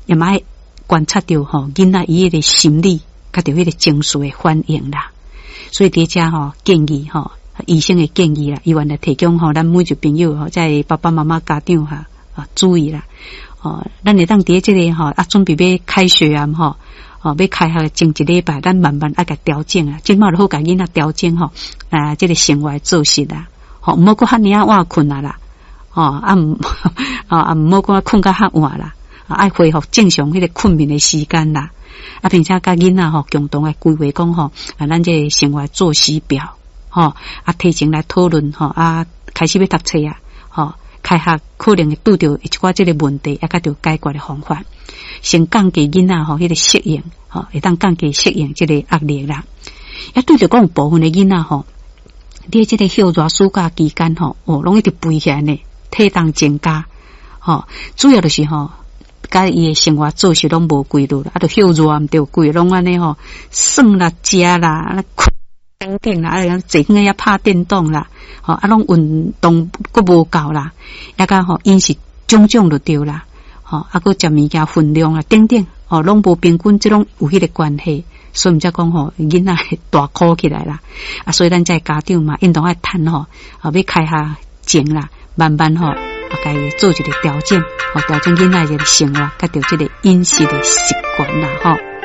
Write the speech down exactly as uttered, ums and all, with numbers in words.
也嘛愛觀察著吼囡仔伊彼个心理，佮著彼个情緒的反應啦。所以佇遮吼建議吼，醫生的建議啦，伊原來提供吼，咱每一個朋友吼，這爸爸媽媽家長哈啊注意啦。哦，咱會當佇這个吼啊，準備欲開學啊吼，哦，欲開學前一禮拜，咱慢慢愛共調整啊，這馬就好共囡仔調整吼，啊，這个生活作息啦，吼，毋好閣遐爾仔晚睏啊啦，吼啊毋，啊毋好講睏甲較晚啦，愛恢復正常彼個睏眠的時間啦，啊，並且佮囡仔吼共同來規劃講吼，啊，咱這個生活作息表，吼，啊，提前來討論吼，啊，開始欲讀冊啊，吼。開學可能會拄著一寡這个問題，也佮著解決的方法，先降低囡仔吼彼個適應，吼會當降低適應這个壓力啦。也對著講有部分的囡仔吼，佇這个歇熱暑假期間吼，哦，攏一直肥起來呢，體重增加，吼，主要就是吼，佮伊的生活作息攏無規律啦，啊，著歇熱毋對，規攏按呢吼，耍啦、食啦、睏等等啦，啊，坐佇遐拍電動啦，吼，啊，攏運動閣無夠啦，抑佮吼飲食種種就對啦，吼，啊，閣食物件份量啊，等等，吼，攏無平均，這攏有彼個關係，所以毋才講吼，囡仔會大箍起來啦，啊，所以咱這家長嘛，應當愛趁吼，啊，欲開學前啦，慢慢吼，啊，共伊做一個調整，吼，調整囡仔這个生活，佮著這个飲食的習慣啦，吼。